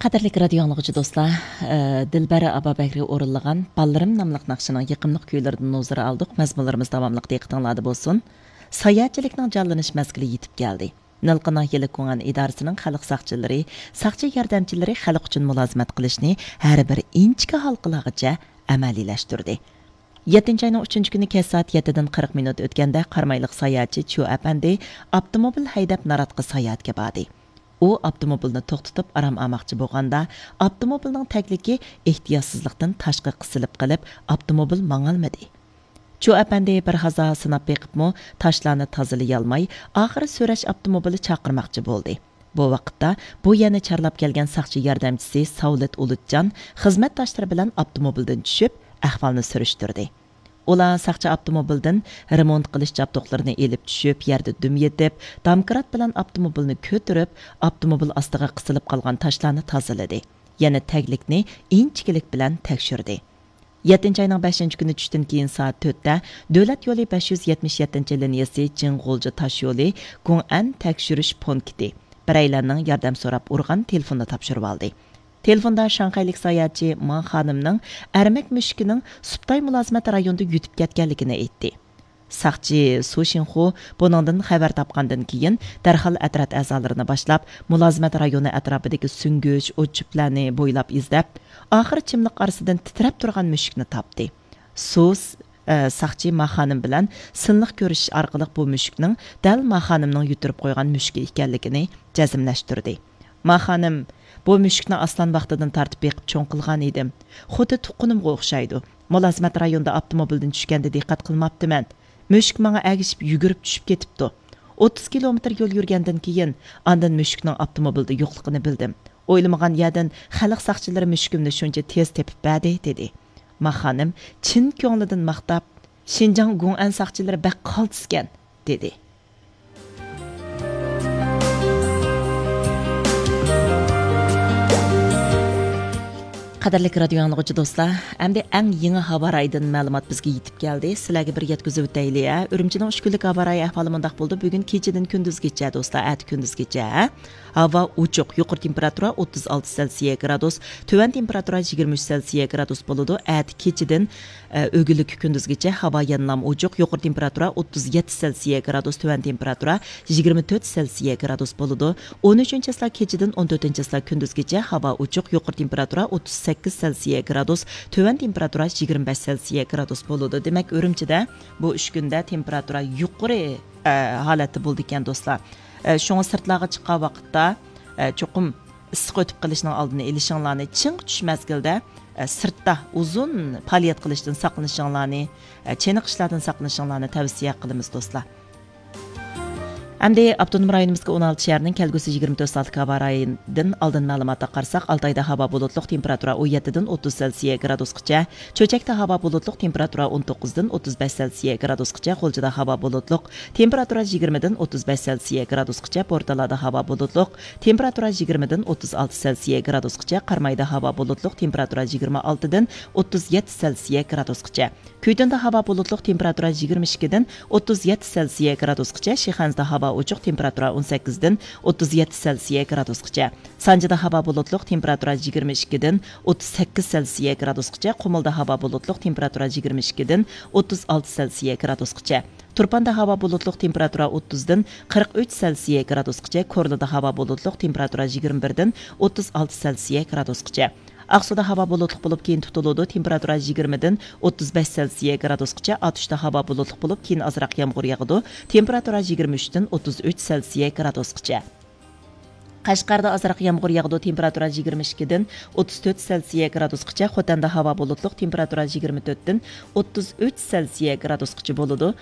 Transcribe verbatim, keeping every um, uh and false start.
قەدىرلىك رادىيو ئاڭلىغۇچى دوستلار، ئە، دىلبەر ئابابەكرى ئورۇنلىغان بالىلىرىم ناملىق ناخشىنىڭ يېقىملىق كۈيلىرىدىن ھۇزۇر ئالدۇق. مەزمۇنلىرىمىز داۋاملىق دىققىتىڭلاردا بولسۇن. ساياھەتچىلىكنىڭ جانلىنىش مەزگىلى يېتىپ كەلدى. نىلقا ناھىيەلىك گۇڭئەن ئىدارىسىنىڭ خەلق ساقچىلىرى، ساقچى ياردەمچىلىرى خەلق ئۈچۈن مۇلازىمەت قىلىشنى ھەر بىر ئىنچىكە ھالقىلارغىچە ئەمەلىيلەشتۈردى. يەتتىنچى ئاينىڭ ئۈچىنچى كۈنى كەچ سائەت يەتتىدىن قىرىق مىنۇت ئۆتكەندە، قارامايلىق ساياھەتچى چيۇ ئەپەندى ئاپتوموبىل ھەيدەپ ناراتقا ساياھەتكە باردى. ئۇ ئاپتوموبىلنى توختىتىپ ئارام ئالماقچى بولغاندا، ئاپتوموبىلنىڭ تەگلىكى ئېھتىياتسىزلىقتىن تاشقا قىسىلىپ قېلىپ، ئاپتوموبىل ماڭالمىدى. چيۇ ئەپەندى بىر ھازا سىناپ بېقىپمۇ، تاشلارنى تازىلىيالماي، ئاخىرى سۈرەش ئاپتوموبىلى چاقىرماقچى بولدى. بۇ ۋاقىتتا بۇ يەرنى چارلاپ كەلگەن ساقچى ياردەمچىسى ساۋلىت ئۇلۇتجان خىزمەتداشلىرى بىلەن ئاپتوموبىلدىن چۈشۈپ، ئەھۋالنى سۈرۈشتۈردى. ئۇلار ساقچى ئاپتوموبىلدىن رېمونت قىلىش جابدۇقلىرىنى ئېلىپ چۈشۈپ، يەردە دۈم يېتىپ، دامكرات بىلەن ئاپتوموبىلنى كۆتۈرۈپ، ئاپتوموبىل ئاستىغا قىسىلىپ قالغان تاشلارنى تازىلىدى. يەنە تەگلىكنى ئىنچىكىلىك بىلەن تەكشۈردى. يەتتىنچى ئاينىڭ بەشىنچى كۈنى چۈشتىن كېيىن سائەت تۆتتە دۆلەت يولى بەش يۈز يەتمىش يەتتىنچى لىنىيەسى جىڭ غۇلجا تاشيولى گۇڭئەن تەكشۈرۈش پونكىتى بىرەيلەننىڭ ياردەم سوراپ ئۇرغان تېلېفونىنى تاپشۇرۇۋالدى. تېلېفوندا شاڭخەيلىك ساياھەتچى ما خانىمنىڭ ئەرمەك مۈشۈكىنىڭ سۇپتاي مۇلازىمەت رايونىدا يۈتۈپ كەتكەنلىكىنى ئېيتتى. ساقچى سۇ شىنخۇ بۇنىڭدىن خەۋەر تاپقاندىن كېيىن، دەرھال ئەترەت ئەزالىرىنى باشلاپ، مۇلازىمەت رايونى ئەتراپىدىكى سۈڭگۈچ، ئوت-چۆپلەرنى بويلاپ ئىزدەپ، ئاخىرى چىملىق ئارىسىدىن تىترەپ تۇرغان مۈشۈكنى تاپتى. سۇ، ئە، ساقچى ما خانىم بىلەن سىنلىق كۆرۈشۈش ئارقىلىق بۇ مۈشۈكنىڭ دەل ما خانىمنىڭ يۈتتۈرۈپ قويغان مۈشۈكى ئىكەنلىكىنى جەزملەشتۈردى. ما خانىم، بۇ مۈشۈكنى ئاسلان ۋاقتىدىن تارتىپ بېقىپ چوڭ قىلغان ئىدىم. خۇددى تۇغقىنىمغا ئوخشايدۇ. مۇلازىمەت رايونىدا ئاپتوموبىلدىن چۈشكەندە دىققەت قىلماپتىمەن. مۈشۈك ماڭا ئەگىشىپ يۈگۈرۈپ چۈشۈپ كېتىپتۇ. ئوتتۇز كىلومېتىر يول يۈرگەندىن كېيىن، ئاندىن مۈشۈكنىڭ ئاپتوموبىلدا يوقلۇقىنى بىلدىم. ئويلىمىغان يەردىن خەلق ساقچىلىرى مۈشۈكۈمنى شۇنچە تېز تېپىپ بەردى، دېدى. ما خانىم چىن كۆڭلىدىن ماختاپ، شىنجاڭ گۇڭئەن ساقچىلىرى بەك قالتىسكەن، دېدى. قەدىرلىك رادىيو ئاڭلىغۇچى دوستلار، ئەمدى ئەڭ يېڭى ھاۋا رايىدىن مەلۇمات بىزگە يېتىپ كەلدى. سىلەرگە بىر يەتكۈزۈۋۆتەيلى، ھە. ئۈرۈمچىنىڭ ئۈچ كۈنلۈك ھاۋا رايى ئەھۋالى مۇنداق بولىدۇ. بۈگۈن كېچىدىن كۈندۈزگىچە دوستلار، ئەتە كۈندۈزگىچە، ھە. ھاۋا ئوچۇق، يۇقىرى تېمپېراتۇرا ئوتتۇز ئالتە سېلسىيە گرادۇس، تۆۋەن تېمپېراتۇرا يىگىرمە ئۈچ سېلسىيە گرادۇس بولىدۇ. ئەتە كېچىدىن ئە، ئۆگۈنلۈككە كۈندۈزگىچە ھاۋا يەنىلا ئوچۇق، يۇقىرى تېمپېراتۇرا ئوتتۇز يەتتە سېلسىيە گرادۇس، تۆۋەن تېمپېراتۇرا يىگىرمە تۆت سېلسىيە گرادۇس بولىدۇ. ئون ئۈچىنچى چىسلا كېچىدىن ئون تۆتىنچى چىسلا كۈندۈزگىچە ھاۋا ئوچۇق، يۇقىرى تېمپېراتۇرا ئوتتۇز سەككىز سېلسىيە گرادۇس، تۆۋەن تېمپېراتۇرا يىگىرمە بەش سېلسىيە گرادۇس بولىدۇ. دېمەك، ئۈرۈمچىدە بۇ ئۈچ كۈندە تېمپېراتۇرا يۇقىرى، ئە، ھالەتتە بولىدىكەن، دوستلار. ئە، شۇڭا سىرتلارغا چىققان ۋاقىتتا، ئە، چوقۇم ئىسسىق ئۆتۈپ قېلىشنىڭ ئالدىنى ئېلىشىڭلارنى، چىڭ قۇتۇش مەزگىلدە، ئە، سىرتتا ئۇزۇن پائالىيەت قىلىشتىن ساقلىنىشىڭلارنى، ئە، چېنىقىشلاردىن ساقلىنىشىڭلارنى تەۋسىيە قىلىمىز، دوستلار. ئەمدى ئاپتونوم رايونىمىزغا ئون ئالتە شەھەرنىڭ كەلگۈسى يىگىرمە تۆت سائەتلىك ھاۋا رايىدىن ئالدىن مەلۇماتقا قارىساق، ئالتايدا ھاۋا بۇلۇتلۇق، تېمپېراتۇرا ئون يەتتىدىن ئوتتۇز سېلسىيە گرادۇسقىچە، چۆچەكتە ھاۋا بۇلۇتلۇق، تېمپېراتۇرا ئون توققۇزدىن ئوتتۇز بەش سېلسىيە گرادۇسقىچە، غۇلجىدا ھاۋا بۇلۇتلۇق، تېمپېراتۇرا يىگىرمىدىن ئوتتۇز بەش سېلسىيە گرادۇسقىچە، بورتالادا ھاۋا بۇلۇتلۇق، تېمپېراتۇرا يىگىرمىدىن ئوتتۇز ئالتە سېلسىيە گرادۇسقىچە، قارامايدا ھاۋا بۇلۇتلۇق، تېمپېراتۇرا يىگىرمە ئالتىدىن ئوتتۇز يەتتە سېلسىيە گرادۇسقىچە، كۈيتۇندا ھاۋا بۇلۇتلۇق، تېمپېراتۇرا يىگىرمە ئىككىدىن ئوتتۇز يەتتە سېلسىيە گرادۇسقىچە، شىخەنزىدە ھاۋا ئوچۇق، تېمپېراتۇرا ئون سەككىزدىن ئوتتۇز يەتتە سېلسىيە گرادۇسقىچە، سانجىدا ھاۋا بۇلۇتلۇق، تېمپېراتۇرا يىگىرمە ئىككىدىن ئوتتۇز سەككىز سېلسىيە گرادۇسقىچە، قۇمۇلدا ھاۋا بۇلۇتلۇق، تېمپېراتۇرا يىگىرمە ئىككىدىن ئوتتۇز ئالتە سېلسىيە گرادۇسقىچە. تۇرپاندا ھاۋا بۇلۇتلۇق، تېمپېراتۇرا ئوتتۇزدىن قىرىق ئۈچ سېلسىيە گرادۇسقىچە، كورلىدا ھاۋا بۇلۇتلۇق، تېمپېراتۇرا يىگىرمە بىردىن ئوتتۇز ئالتە سېلسىيە گرادۇسقىچە. ئاقسۇدا ھاۋا بۇلۇتلۇق بولۇپ، كېيىن تۇتۇلىدۇ، تېمپېراتۇرا يىگىرمىدىن ئوتتۇز بەش سېلسىيە گرادۇسقىچە، ئاتۇشتا ھاۋا بۇلۇتلۇق بولۇپ، كېيىن ئازراق يامغۇر ياغىدۇ، تېمپېراتۇرا يىگىرمە ئۈچتىن ئوتتۇز ئۈچ سېلسىيە گرادۇسقىچە. قەشقەردە ئازراق يامغۇر ياغىدۇ، تېمپېراتۇرا يىگىرمە ئىككىدىن ئوتتۇز تۆت سېلسىيە گرادۇسقىچە، خوتەندە ھاۋا بۇلۇتلۇق، تېمپېراتۇرا يىگىرمە تۆتتىن ئوتتۇز ئۈچ سېلسىيە گرادۇسقىچە بولىدۇ،